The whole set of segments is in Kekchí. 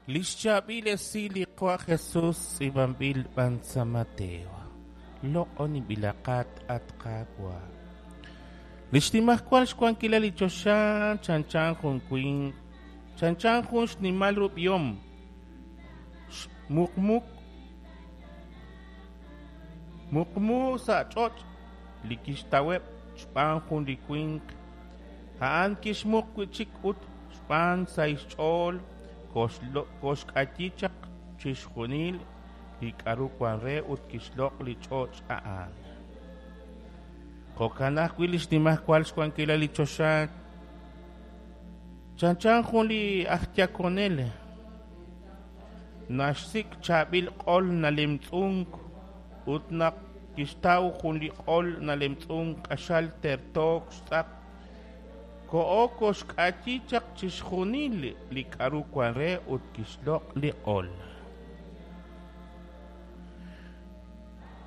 Li xchaab'il esil li Qaawa' Jesus tz'iib'anb'il b'an sa' Mateo. Loq'oninb'ilaqat, at Qaawa'. Li xnimajwal xwankilal li choxa chanchan jun winq, chanchan jun xnimal ru b'ihom, xmuqmuk muqmu sa' ch'och' li kixtaweb' xb'aan jun li winq. A'an kixmuq wi' chik ut xb'aan sahil xch'ool koxk'ayi chaq chixjunil li k'aru wank re ut kixloq' li ch'och' a'an. Jo'kan ajwi' li xnimajwal xwankilal li choxa chanchan jun li aj yakonel naxsik' chaab'il q'ol nalemtz'unk ut naq kixtaw jun li q'ol nalemtz'unk q'axal tertook xtz'aq koho koxk'ayi chaq chixjunil li k'aru wank re ut kixloq' li q'ol.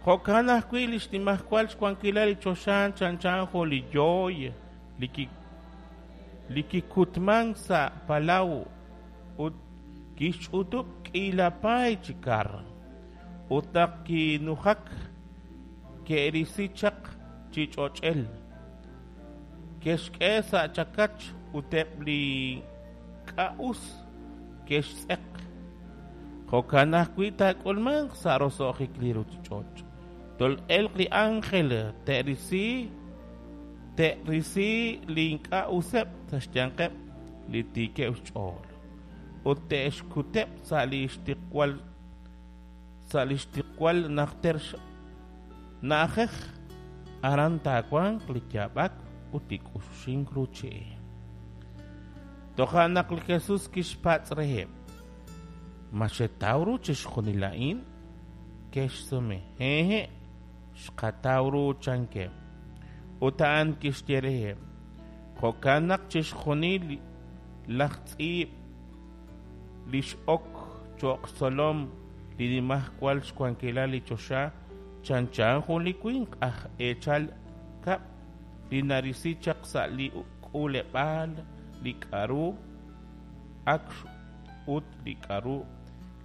Jo'kan ajwi' li xnimajwal xwankilal li choxa chanchan jun li yooy li kikutmank sa' palaw ut kixch'utub' k'iila paay chi kar. Ut naq kinujak, ke'risi chaq chi ch'och'el, ke'xk'e sa' chakach ut eb' li ink'a' us ke'xtz'eq. Jo'kan ajwi' taak'ulmanq sa' roso'jik li ruuchich'och'. Tol'elq li ánjel te'risi te'risi li ink'a' useb' sa' xyanqeb' li tiikeb' xch'ool, ut te'xkuteb' sa' li xtiqwal sa' li xtiqwal najter na'ajej, aran taawanq li yaab'ak ut li k'uxuxink ruuchi. Toja' naq li Jesus kixpatz' reheb', Ma xetaw ru chixjunil a'in? Ke'xsume, Hehe', xqataw ru, chankeb'. Ut a'an kixye reheb', Jo'kan naq chixjunil laj tz'iib' li x'ok cho'q xtzolom li Nimajwal xwankilal li choxa chanchan jun li winq aj eechal kab' li narisi chaq sa' li k'uuleb'aal li k'aru ak ut li k'aru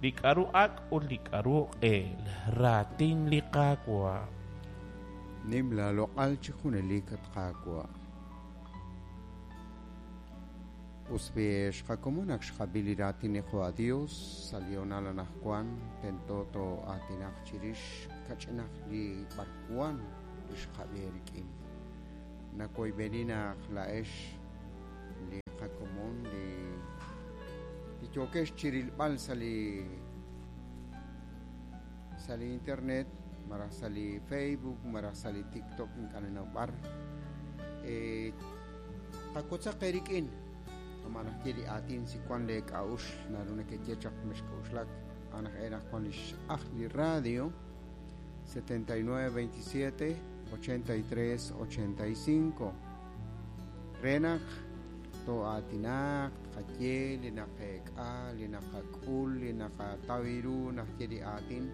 li k'aru ak' ut li k'aru q'eel. Raatin li Qaawa'. Nim laaloq'al chi junelik, at Qaawa'. Us b'i' ex qakomon ak xqab'i li raatin li Qaawa' Dios sa' li hoonal anaqwan tento too'aatinaq chirix kach'inaq li b'arwan li xqab'i eerik'in. Nawoyb'eni naq laa'ex li qakomon li li yookex chirilb'al sa' li sa' li internet malaj sa' li Facebook malaj sa' li TikTok ink'a' ninnaw b'ar eh, qawotzaq eerik'in kama' naxye li aatin si wan lee k'a'uxl naru nekeye chaq mexk'a'uxlak a'an aj e naq wan li x'ajl li radio 79 27 83 85 re naq too'aatinaq tqaye li naqeek'a li naqak'ul li naqataw ru naxye li aatin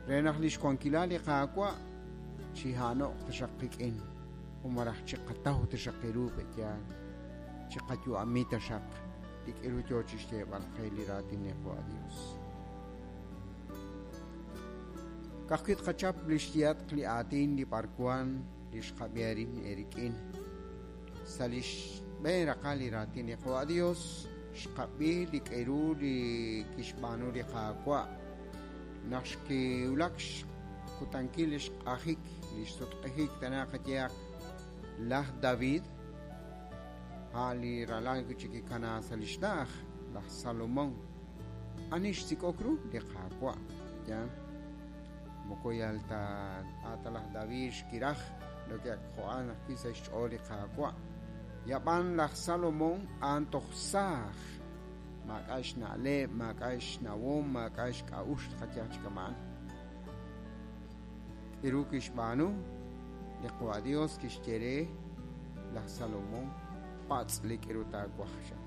re naq li xwankilal li Qaawa' chiha'no'q taxaq qik'in u malaj chiqataw taxaq ru pe'yaal chiqayu'ami taxaq li k'iru yoo chixyeeb'al qe li raatin li Qaawa' Dios. Ka'ajwi' tqachap li xyehatq li aatin li b'arwan li xqab'i arin eerik'in. Sa' li xb'een raqal li raatin li Qaawa' Dios xqab'i li k'iru li kixb'aanu li Qaawa' naq xkiwulak xkutankil li xq'ajik li xsutq'ijik tana qayehaq laj David a' li ralal wi' chik kikana sa' li xna'aj laj Salomón. Ani xsik'ok ru? Li Qaawa'. Yaal. Moko yal ta a' ta laj David xkiraj lo ke ak jo'an ajwi' sa' xch'ool li Qaawa'. Yab'an laj Salomón a'an toj saaj. Maak'a' xna'leb', maak'a' xnawom, maak'a' xk'a'uxl qayehaq chi kama'an. K'iru kixb'aanu? Li Qaawa' Dios kixye re laj Salomón, patz' li k'iru taawaj, chan.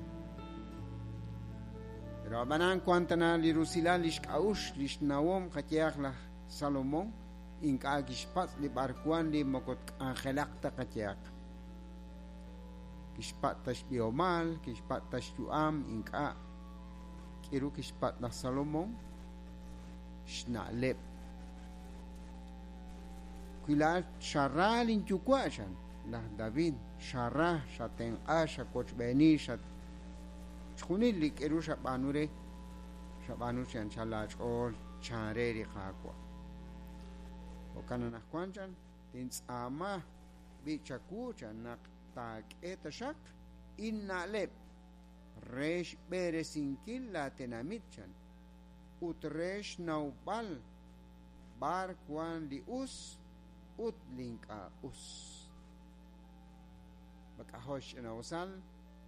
Pero ab'anan wan tana li rusilal li xk'a'uxl li xnawom qayehaq laj Salomón ink'a' kixpatz' li b'arwan li moko tk'anjelaq ta qayehaq. Kixpatz' ta xb'ihomal, kixpatz' ta xyu'am, ink'a'. K'aru kixpatz' laj Salomón? Xna'leb'. Wi laa'at xara linyuwa', chan laj David, xara, xatenq'a, xawochb'eeni, xatchixjunil li k'aru xab'aanu re, xab'aanu chi anchal laach'ool, chan re li Qaawa'. Jo'kan anaqwan, chan, tintz'aama b'i' chawu, chan, naq taak'e taxaq inna'leb' re xb'eresinkil laatenamit, chan, ut re xnawb'al b'ar wank li us ut li ink'a' us. Mak'ajo' xch'ina'usal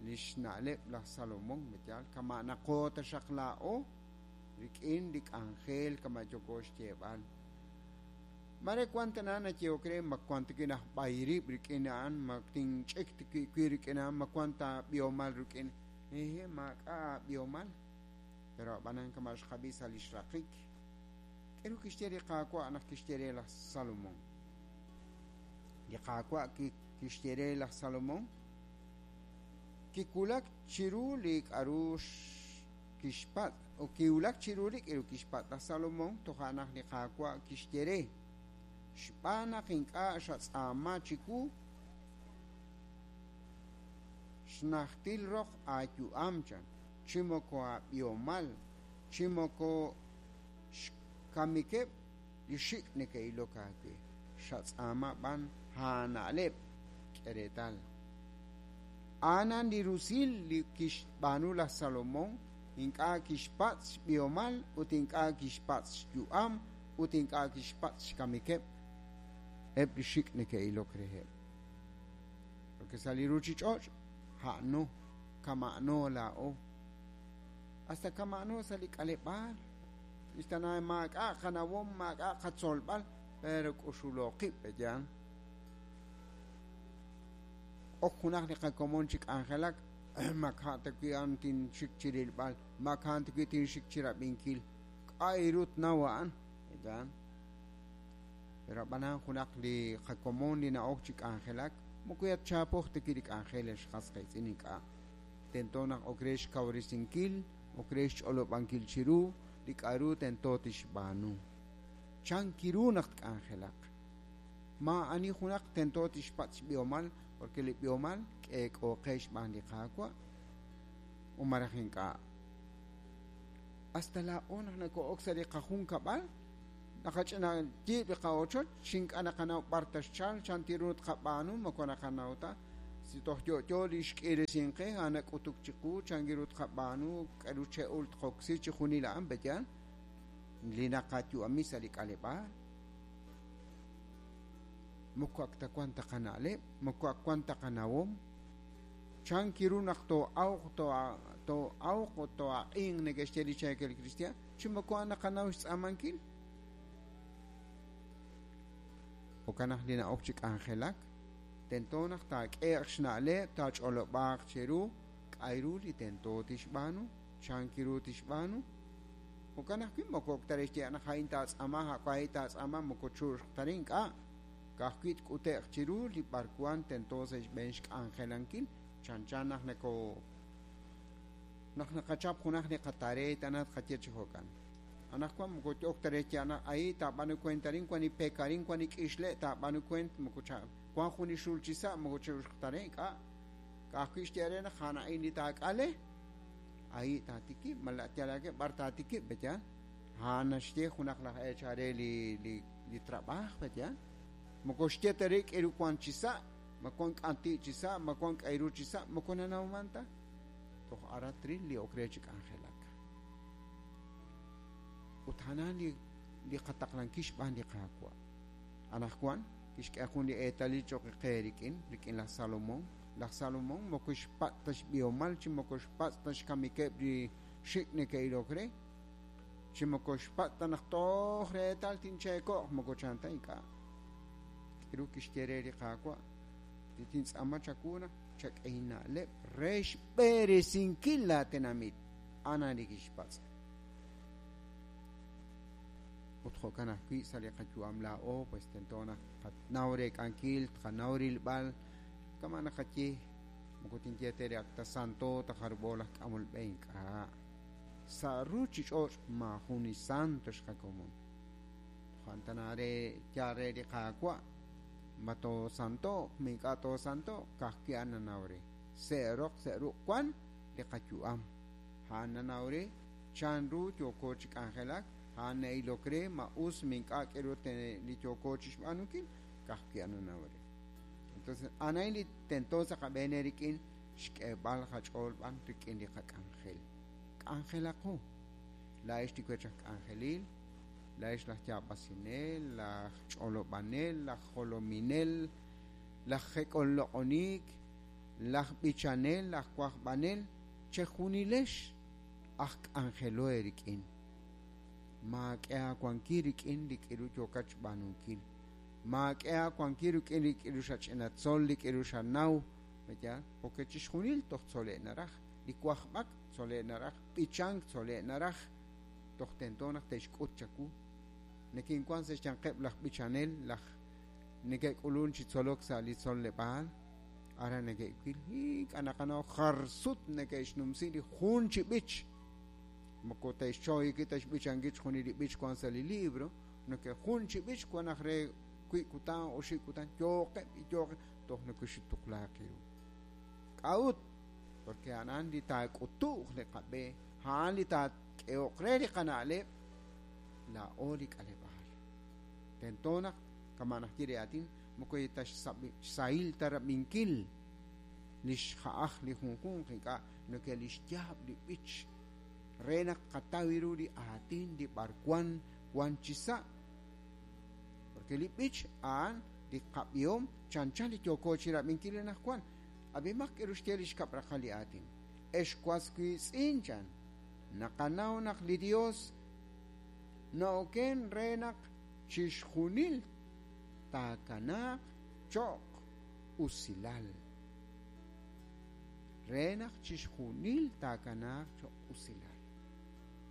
li xna'leb' laj Salomón, yaal, kama' naqo taxaq laa'o rik'in li k'anjel kama' yooko xyeeb'al. Mare wank tana nayehok re ma wank ta wi' naj b'ay rib' rik'in a'an, ma tinch'ik ta wi' rik'in a'an, ma wank ta b'ihomal rik'in. Ehe, maak'a' b'ihomal. Pero ab'anan kama' xqab'i sa' li xraqik. K'aru kixye li Qaawa' naq kixye re laj Salomón? Li Qaawa' kixye re laj Salomón kiwulak chiru li k'aru kixpatz', o kiwulak chiru li k'aru kixpatz' laj Salomón, toja' naq li Qaawa' kixye re, xb'aan naq ink'a' xatz'aama chiwu xnajtil roq aayu'am, chan, chi moko aab'ihomal, chi moko xkamikeb' li xik' neke'ilok aawe, xatz'aama b'an aana'leb'. K'e reetal. A'anan li rusil li kixb'aanu laj Salomón, ink'a' kixpatz' xb'ihomal ut ink'a' kixpatz' xyu'am ut ink'a' kixpatz' xkamikeb' eb' li xik' neke'ilok reheb'. Porque sa' li ruuchich'och' a'no kama'no laa'o. Hasta kama'no sa' li k'aleb'aal. Ixtana maak'a' qanawom, maak'a' qatzolb'al, pero k'uxulo qib', yaal. Ok junaq li qakomon chi k'anjelak, mak'a' ta wi' a'an tinxik chi rilb'al, mak'a' ta wi' tinxik chi rab'inkil. K'a' ru tnaw a'an, yaal. Pero ab'anan junaq li qakomon li na'ok chi k'anjelak, moko yatchapoq ta wi' li k'anjel xqas qiitz'in ink'a'. Tento naq ok re xkawresinkil, ok re xch'olob'ankil chiru li k'aru tento tixb'aanu. Chan kiru naq tk'anjelaq. Maa'ani junaq tento tixpatz' xb'ihomal, porque li b'ihomal k'eek'ooqe xb'aan li Qaawa' o maraj ink'a'. Hasta laa'o naq nako'ok sa' li qajunkab'al, naqach'ina yiib' li qa'ochoch, xink'a' naqanaw b'ar taxchal, chan tiru tqab'aanu, moko naqanaw ta. Si toj yo'yo li xk'iresinqe, a'an nak'utuk chiqu, chan kiru tqab'aanu, k'aru che'ul tqoksi chi junil a'an, pe'yaal li naqayu'ami sa' li k'aleb'aal. Moko ak ta wank ta qana'leb', moko ak wank ta qanawom. Chan kiru naq too'awq, too'awq o too'aq'inq neke'xye li cheekel kristiaan, chi moko a'an naqanaw xtz'aamankil. Jo'kan naq li na'ok chi k'anjelak, tento naq taak'eeq xna'leb', taach'olob'aaq chiru k'a' ru li tento tixb'aanu, chan kiru tixb'aanu. Jo'kan ajwi' moko ok ta re xye naq a'in taatz'aama, a'in taatz'aama, moko chu'uxq ta re ink'a'. Ka'ajwi' tk'ute'q chiru li b'arwan tento sa' xb'een xk'anjelankil, chanchan naq nako naq naqachap junaq li qataree tana tqaye chi jo'kan. Anaqwan moko ok ta re xye naq ahi taab'aanu kuent arin, wan li pek arin, wan li k'ixle' taab'aanu kuent, moko cha wan jun li xul chi sa', moko chu'uxq ta re ink'a'. Ka'ajwi' xye re naq a'an a'in li taak'ale, ahi taatikib', malaj yalaq b'ar taatikib', pe'yaal. A'an naxye junaq laj eechal re li trab'aaj, pe'yaal. Moko xye ta re k'aru wank chi sa', ma wank k'anti' chi sa', ma wank k'aru chi sa', moko nanawman ta. Toj aran tril li ok re chi k'anjelak. Ut a'an li qataqlankil xb'aan li Qaawa'. Anaqwan kixk'e jun li eetalil cho'q qe rik'in laj Salomón. Laj Salomón moko xpatz' ta xb'ihomal, chi moko xpatz' ta xkamikeb' li xik' neke'ilok re, chi moko xpatz' ta naq toj reetal tincheeko'q, moko chan ta ink'a'. K'aru kixye re li Qaawa'? Li tintz'aama chawu naq chak'e inna'leb' re xb'eresinkil laatenamit. A'an li kixpatz'. Ut jo'kan ajwi' sa' li qayu'am laa'o, pues tento naq qanaw reek'ankil, tqanaw rilb'al, kama' naqaye, moko tinye te re ak ta santo ta jarub'o laj k'amol b'e ink'a'. Sa' ruuchich'och' maajun li santo xqakomon. Jo'an re yaal re li Qaawa', ma toosanto'q, ma ink'a' toosanto'q, ka'ajwi' a'an nanaw re. Se'roq se'ruq wan li qayu'am. A'an nanaw re chanru yooko chi k'anjelak, a'an na'ilok re ma us ma ink'a' k'eru li yooko chixb'aanunkil, ka'ajwi' a'an nanaw re. Entonces, a'an li tento sa' qab'een rik'in xk'eeb'al qach'ool b'an rik'in li qak'anjel. K'anjelaqo. Laa'ex li wech aj k'anjelil, laa'ex laj yaab'asinel, laj ch'olob'anel, laj jolominel, laj jek'olloq'onik, laj b'ichanel, laj wajb'anel, chejunilex aj k'anjelo eerik'in. Maak'e aawankil rik'in li k'iru yookat xb'aanunkil. Maak'e aawankil rik'in li k'iru xach'inatzol, li k'iru xanaw, ¿ya? Porque chixjunil toj tzole' naraj, li wajb'ak tzole' naraj, b'ichank tzole' naraj, toj tento naq te'xk'ut chawu. Nekinwan sa' xyanqeb' laj b'ichanel, laj neke'k'ulun chi tzolok sa' li tzoleb'aal, ara neke'wil, ink'a' naqanaw jar sut neke'xnumsi li jun chi b'ich. Moko te'xchoyiki te'xb'ichankil chixjunil li b'ich wan sa' li libro, neke jun chi b'ich wan aj re wi kutan oxib' kutan yooqeb' yooqeb' toj neke'xtuqlaaq ru. K'a'ut, porque a'an li taak'utu'j li qab'e, a'an li taak'ehoq re li qana'leb', laa'o li k'aleb'aal. Tento naq kama' najye li aatin, moko ta xsahil ta rab'inkil li xja'aj li junjunq ink'a' neke li xyaab' li b'ich re naq qataw ru li aatin li b'arwan wan chi sa'. Porque li b'ich a'an li qab'ihom chanchan li yooko chi rab'inkil anaqwan. Ab'imaq k'eru xye li xkab' raqal li aatin. Ex was wiitz'in chan, naqanaw naq li Dios na'oken re naq chixjunil taakanaaq cho'q usilal. Re naq chixjunil taakanaaq cho'q usilal.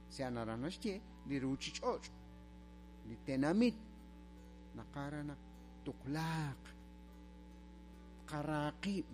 Se naraj naxye li ruuchich'och', li tenamit, naqara naq tuqlaaq, tqaraaqib'.